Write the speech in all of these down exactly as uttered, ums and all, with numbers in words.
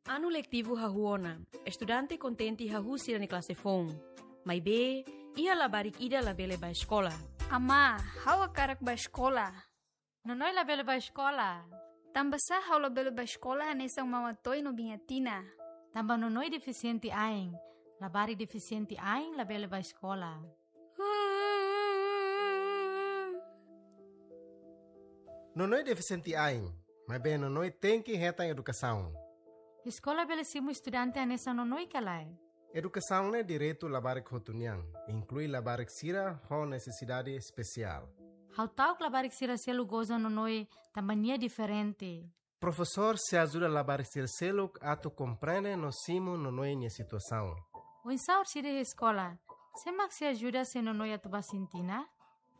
Anu letivu hahú ona, estudante kontente hahú sira-nia klase foun. Maibé, iha labarik ida labele bá eskola. Amá, ha'u hakarak bá eskola. Nonoi labele bá eskola. Tanbasá ha'u labele bá eskola hanesan Mama Toy no Biña Tina? Tanba Nonoi defisiente ain. Labarik defisiente ain labele bá eskola. Nonoi defisiente ain, maibé Nonoi tenke hetan edukasaun. Eskola bele simu estudante hanesan Nonoi ka lae? Edukasaun ne'e direitu labarik hotu nian, inklui labarik sira ho nesesidade espesiál. Ha'u ta'uk labarik sira seluk goza Nonoi tanba nia diferente. Profesór sei ajuda labarik sira seluk atu komprende no simu Nonoi nia situasaun. Oinsá orsida iha eskola? Sé mak sei ajuda se Nonoi atu bá sintina?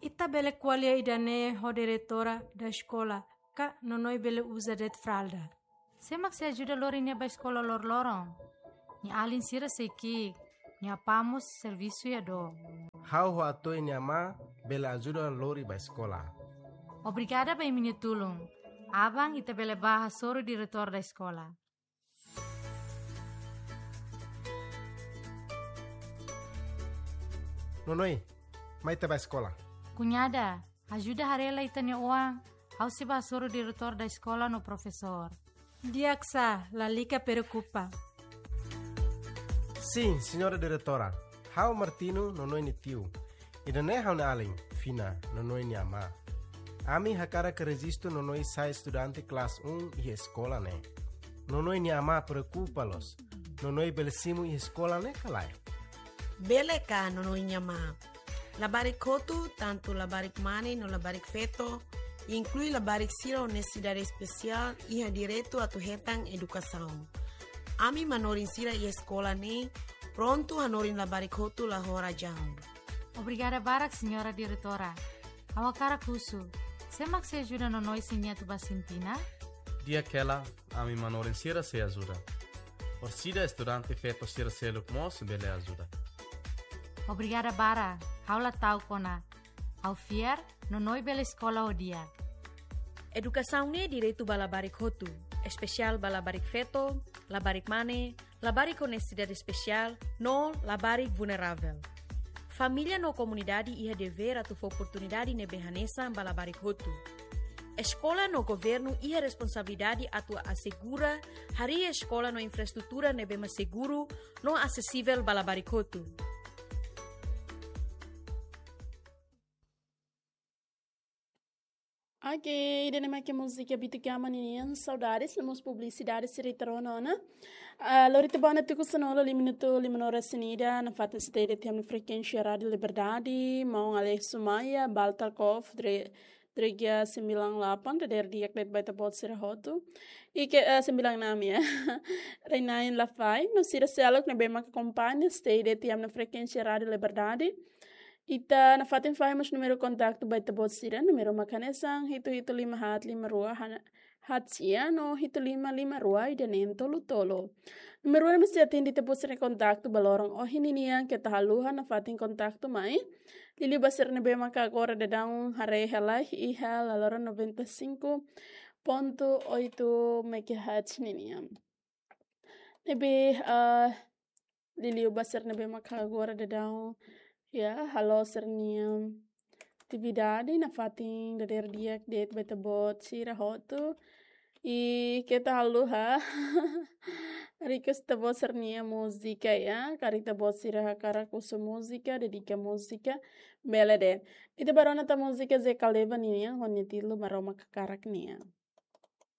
Ita bele ko'alia ida-ne'e ho diretora da eskola, ka Nonoi bele uza de'it fralda. Sé mak sei ajuda lori nia bá eskola loroloron? Nia alin sira sei ki'ik, nia apá mós servisu iha dook. Ha'u ho Atoy nia amá bele ajuda lori bá eskola. Obrigada ba imi-nia tulun. Aban ita bele bá hasoru diretór da eskola. Nonoi, mai ita bá eskola. Kuñada, ajuda haree lai ita-nia oan, ha'u sei bá hasoru diretór da eskola no profesór. Di'ak sá, lalika preokupa. Sin, señora diretora. Ha'u Martino, Nonoi nia tiu. Ida-ne'e ha'u-nia alin, Fina, Nonoi nia amá. Ami hakarak rejistu Nonoi sai estudante klase um iha eskola ne'e. Nonoi nia amá preokupa loos. Nonoi bele simu iha eskola ne'e ka lae? Bele ka, Nonoi nia amá. Labarik hotu, tantu labarik mane no labarik feto, inklui labarik sira ho nesesidade espesiál, iha direitu atu hetan edukasaun. Ami manorin sira iha eskola ne'e prontu hanorin labarik hotu la ho razaun. Obrigada barak, señora diretora. Ha'u hakarak husu, sé mak sei ajuda Nonoi se nia atu bá sintina? Di'ak hela, ami manorin sira sei ajuda. Orsida estudante feto sira seluk mós bele ajuda. Obrigada barak, ha'u la ta'uk ona. Ha'u fiar, Nonoi bele eskola ho di'ak. Edukasaun ne'e direitu ba labarik hotu, espesiál ba labarik feto, labarik mane, labarik ho nesesidade espesiál, no labarik vulneravel. Família no komunidade iha devér atu fó oportunidade ne'ebé hanesan ba labarik hotu. Eskola no governu iha responsabilidade atu asegura harii eskola no infraestrutura ne'ebé mak seguru no asesivel ba labarik hotu. Ok, ida-ne'e mak múzika Bitu Kama ninian, Saudades, no mós publisidade sira ita rona ona. Ah, lori tiha ba ona tuku sanulu lima minutu lima oras ninian, nafatin sei de'it iha ami-nia frekuénsia Rádiu Liberdade, maun Alexo Maia, Baltar Kof, Dre-, Dregia sembilan delapan, dadeer di'ak de'it ba ita-boot sira hotu. I ke, eh, sembilan enam ya. Reinain Lafai, no sira seluk ne'ebé mak akompaña, sei de'it iha ami-nia frekuénsia Rádiu Liberdade. Ita nafatin fahe mós númeru kontaktu ba ita-boot sira, númeru mak hanesan hitu hitu lima haat lima rua haat sia no hitu lima lima rua ida neen tolu tolu. Númeru ne'e mós sei atende ita-boot sira-nia kontaktu ba loron ohin ninian, keta haluha nafatin kontaktu mai. Liuliu ba sira ne'ebé mak agora daudaun haree hela iha la loron noventa e cinco ponto oito megahertz ninian. Ne'ebé, ah, liuliu ba sira ne'ebé mak agora daudaun, ya, halo sira-nia atividade, nafatin dadeer di'ak de'it ba ita-boot sira hotu. I keta haluha request ita-boot sira-nia múzika ya, karik ita-boot sira hakarak husu múzika, dedika múzika, bele de'it. Ita bá rona tan múzika Zeca Leva ninian, ho nia títulu Maromak Hakarak nian.